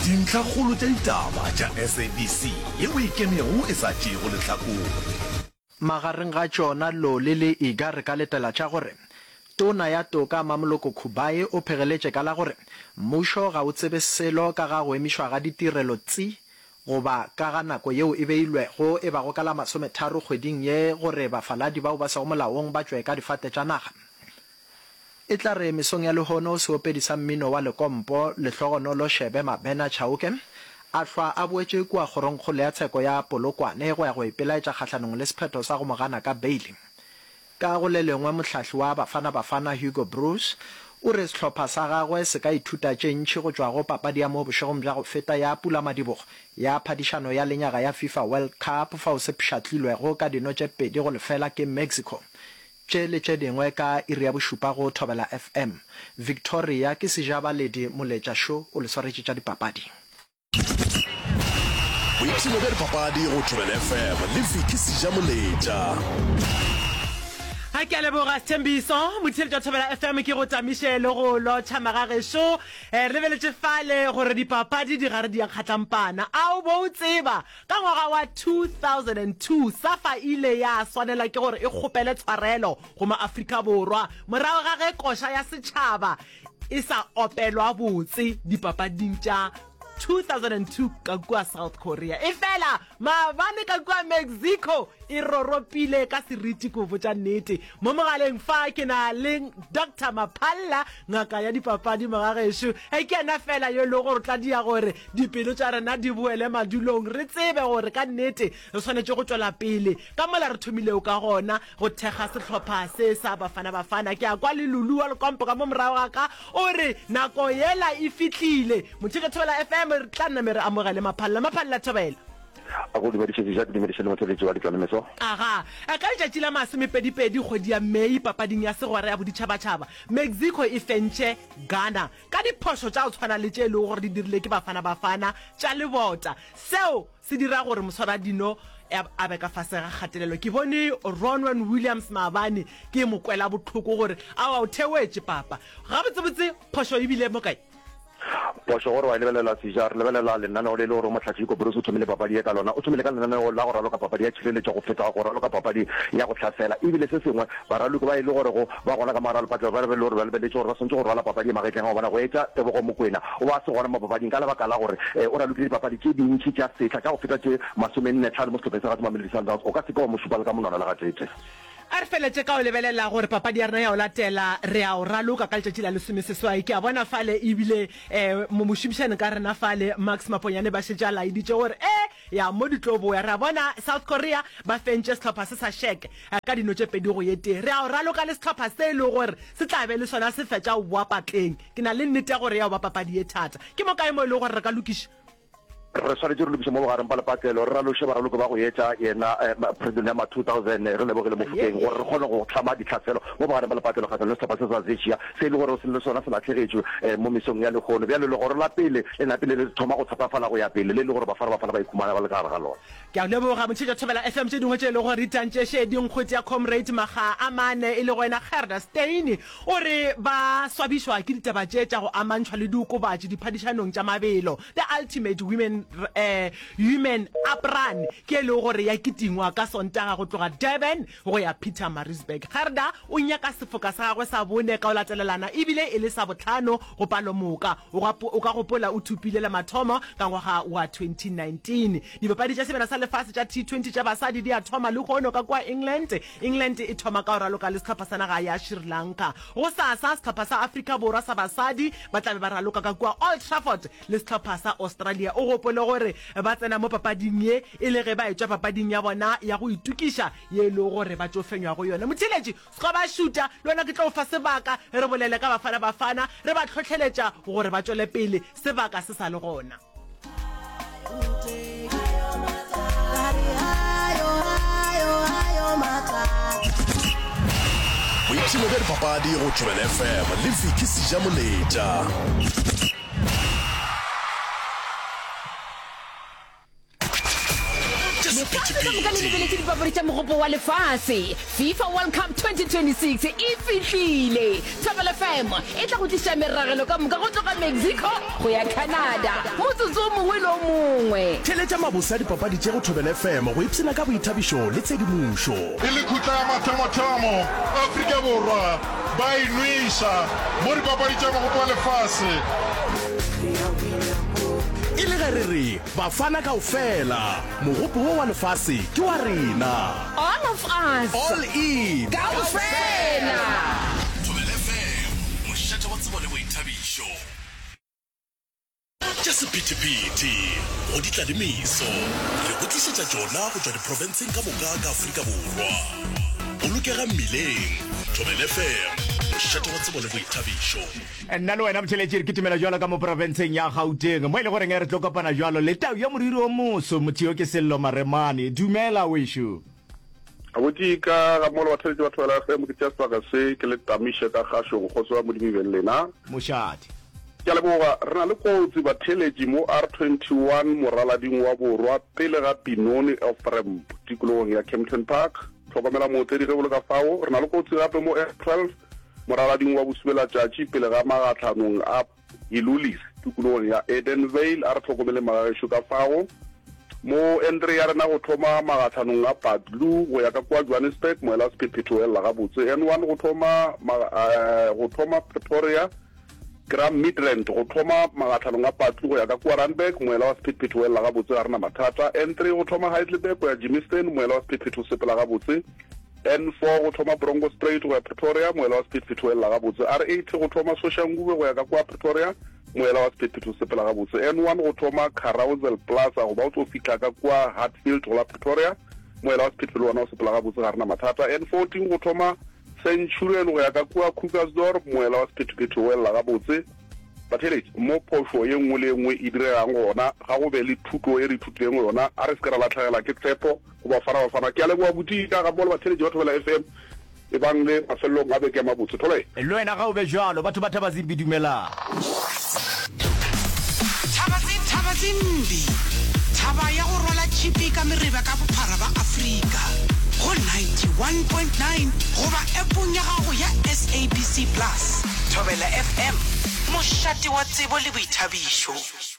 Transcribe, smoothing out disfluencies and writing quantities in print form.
Dintlhakgolo tša ditaba tša SABC yeo e ikemego e sa tšeego lehlakore. Magareng ga tšona Loli le Iga re ka letela tša gore Tona ya Toka Mamoloko Kubayi o phegeletše ka la gore mmušo ga o tsebe selo ka ga go emišwa ga ditirelo tsi goba ka ga nako yeo e beilwego e bago ka la masometharo kgweding ye gore bafaladi bao ba sego molaong ba tšwe ka difate tša naga. E tla re mesong ya lehono seopedi sa mmino wa lekompo Lehlogonolo Shebe Mabena Chauke a hlwa a boetše kua kgorongkgolo ya tsheko ya Polokwane go ya go ipelaetša kgahlanong le sephetho sa go mo gana ka beili. Ka go le lengwe mohlahli wa Bafana Bafana Hugo Broos o re sehlopha sa gagwe se ka ithuta tše ntši go tšwa go papadi ya mo bošegong bja go feta ya pulamadibogo ya phadišano ya lenyaga ya FIFA World Cup fao se pšhatlilwego ka dino tše 2-0 ke Mexico. Tše le tše dingwe ka iri ya bošupa go Thobela FM. Victoria ke Sejabaledi Moletša Šo o le swaretše tša dipapadi. Boipshino bja dipapadi go Thobela FM le Vicky Sejamoletša. A ke a leboga Sthembiso, motheeletši wa Thobela FM ke go tamiše le go lotšha magagešo. Eh, re lebeletše fale gore dipapadi di gare di ya kgatlampana. A o bo o tseba Ka ngwaga wa 2002, SAFA e ile ya swanela ke gore e kgopele tshwarelo go maAfrika Borwa morago ga ge koša ya setšhaba e sa opelwa botse dipapading tša 2002 ka kua South Korea. Efela maabane ka kua Mexico e roropile ka seriti ko botša nnete. Mo mogaleng fa ke na le Doctor Maphalla, ngaka ya dipapadi mogagešo. E ke yena fela yo e lego gore o tla dia gore dipelo tša rena di boele madulong, re tsebe gore ka nnete re swanetše go tšwela pele ka mola re thomilego ka gona go thekga sehlopha se sa Bafana Bafana. Ke a kwa le Lulu wa Lekompo ka mo morago ga ka o re nako yela e fihlile. Motheetša Thobela FM, re tla name re amogele Maphalla. Maphalla Thobela. A go dumediše Seja, ke dumediše le motheeletši wa Ditlalemeso. Aga, ka letšatši la masomepedipedi kgwedi ya Mei papading ya segwera ya boditšhabatšhaba, Mexico e fentše Ghana ka diphošo tša go tshwana le tše e lego gore di dirile ke Bafana Bafana tša lebota. Seo se dira gore moswaradino a be ka fase ga kgatelelo. Ke bone Ronwen Williams maabane ke mo kwela bohloko gore aowa o theoetše papa. Gabotsebotse phošo e bile mo kae? Phošo gore wa e lebelela Seja, re lebelela lenaneo le e le gore Mohlahli Hugo Broos o thomile papadi ye ka lona. O thomile ka lenaneo la go raloka papadi ya tšhireletšo go feta go raloka papadi ya go hlasela. E bile se sengwe, baraloki ba e le gorego ba gona ka mogare ga lepatlelo ba be e le gore ba lebeletše gore ba swanetše go rwala papadi ye magetleng a bona go etša Tebogo Mokoena o be a se gona mo papading ka lebaka la gore o ralokile dipapadi tše dintši tša sehla tša go feta tše masomennetlhano mo sehlopheng sa gagwe sa Mamelodi Sundowns. O ka se ke wa mo šupa le ka monwana le gateetee. A re feletše ka go lebelela gore papadi ya rena ya go latela re a o raloka ka letšatši la lesomeseswai. Ke a bona fale ebile um mošomišani ka rena fale Max Maponyane ba šetše a laeditše gore e ya mo di tlo boya. Re a bona South Korea ba fentše sehlopha se sa Czech ka dino tše pedi go ye tee. Re a o raloka le sehlopha se e lego gore se tla be le sona se fetša go boa patleng. Ke na le nnete ya gore ya go ba papadi ye thata. Ke mo kae mo e lego gore re ka lokiša? Re swanetše re lokiše mo bogareng ba lepatlelo, re raloše baraloki ba go etša yena President ya ma 2000, Relebogile Mofokeng, gore re kgone go hlama ditlhaselo mo bogareng ba lepatlelo kgahlanong le sehlopha se sa Czechia se e le gore le sona se lahlegetšwe mo mesong ya lehono. Bjale legoro la pele le napile le thoma go thatafala go ya pele, le e le gore Bafana Bafana ba ikhumana ba le ka gare ga lona. Ke a leboga Motšhetša Thobela FM. Tše dingwe tše e lego gore di tantše šedi nkgwete ya Comrade makga a mane e lego yena Gerda Steyn o re ba swabišwa ke ditaba tše tša go amantšhwa le diokobatši diphadišanong tša mabelo. The Ultimate Women Women Up Run ke e lego gore ya kitingwa ka Sontaga go tloga Durban go ya Pietermaritzburg. Gerda o nyaka sefoka sa gagwe sa bone ka go latelelana ebile e le sa bohlano go palomoka. O ka gopola o thopile la mathomo ka ngwaga wa 2019. Dipapadi tša Sebjana sa Lefase tša T20 tša basadi di a thoma lehono ka kua England. England e thoma ka go raloka le sehlopha sa naga ya Sri Lanka. Gosasa, sehlopha sa Afrika Borwa sa basadi ba tla be ba raloka ka kua Old Trafford le sehlopha sa Australia. O gopole gore ba tsena mo papading ye e le ge ba etšwa papading ya bona ya go itokiša ye e lego gore ba tšo fenywa go yona. Motheeletši, Sgo ba šuta, le wena ke tlo go fa sebaka re bolele ka Bafana Bafana, re ba hlohleletša gore ba tšwele pele, sebaka se sa le gona. Boipshino bja dipapadi go Thobela FM le Vicky Sejamoletša. Tše sepedišo. Lefase ka moka le lebeletše dipapadi tša Mogopo wa Lefase. FIFA World Cup 2026 e fihlile! Thobela FM e tla go tliša meragelo ka moka go tloga Mexico go ya Canada motsotso o mongwe le o mongwe. Theeletša mabose a dipapadi tše go Thobela FM go ipshina ka boithabišo le tshedimošo. E le khutla ya mathomothomo, Afrika Borwa ba e nweša mo dipapadi tša Mogopo wa Lefase. E le ge re re Bafana kaofela, mogopo wo wa lefase ke wa rena. All of us. All in. Kaofela. Thobela FM, mošate wa tsebo le boithabišo. Tša sephethephethe go di tla le meso, re go tlišetša tšona go tšwa diprofenseng ka moka ka Afrika Borwa. Bolokega mmileng, Thobela FM, mošate wa tsebo le boithabišo. Nna le wena Motšheletši re kitimela bjalo ka mo profenseng ya Gauteng mo e le goreng re tlo kopana bjalo le tau ya moriri o moso, motho yo ke Sello Maremane. Dumela wešo. Abuti ka ga molo batheletši ba Thobela FM ke tšea sebaka se ke le tamiše ka kgašong kgotso ya Modimo e be le lena. Mošate. Ke a leboga. Re na le kotsi batheletši mo R21 moralading wa borwa pele ga Benoni off-ramp tikologong ya Kempton Park. Hlokomela mootledi ge o le ka fao. Re na le kotsi gape mo N12 Moralading wa bosubelatšatši pele ga magahlanong a Hilulis tikologong ya Edenvale, a re hlokomeleng magagešo ka fao. Mo N3 ya rena go thoma magahlanong a Badlu go ya ka kua Johannesburg, moela wa sephethephethe o elela gabotse. N1 go thoma go thoma Pretoria, ke ra Midrand go thoma magahlanong a Patlu go ya ka kua Randburg, moela wa sephethephethe o elela gabotse, ga re na mathata. N3 go thoma Heidelberg go ya Germiston, moela wa sephethephethe o sepela gabotse. N4 go thoma Bronkhorstspruit go ya Pretoria, moela wa sephethephethe o elela gabotse. R80 go thoma Soshanguve go ya ka kua Pretoria, moela wa sephethephethe o sepela gabotse. N1 go thoma Carousel Plaza go ba o tlo fihla ka kua Hatfield go la Pretoria, moela wa sephethephethe le wona o sepela gabotse, ga re na mathata. N14 go thoma Centurion go ya ka kua Krugersdorp, moela wa sephethephethe o elela gabotse. Batheeletši, mo phošo ye nngwe le ye nngwe e diregang gona, ga go be le thuto e re ithutileng yona. A re se ke ra lahlegela ke tshepo go Bafana Bafana. Ke a leboga buti ka gammogo le batheeletši ba Thobela FM. Ebang le mafelelong a beke a mabotse. Thobela. Le wena ga o be bjalo. Batho ba Thabazimbi dumelang. Thabazimbi, thaba ya go rwala tšhipi ka mereba ka bophara ba Afrika, go 91.9 goba appong ya gago ya SABC Plus. Thobela FM, mošate wa tsebo le boithabišo.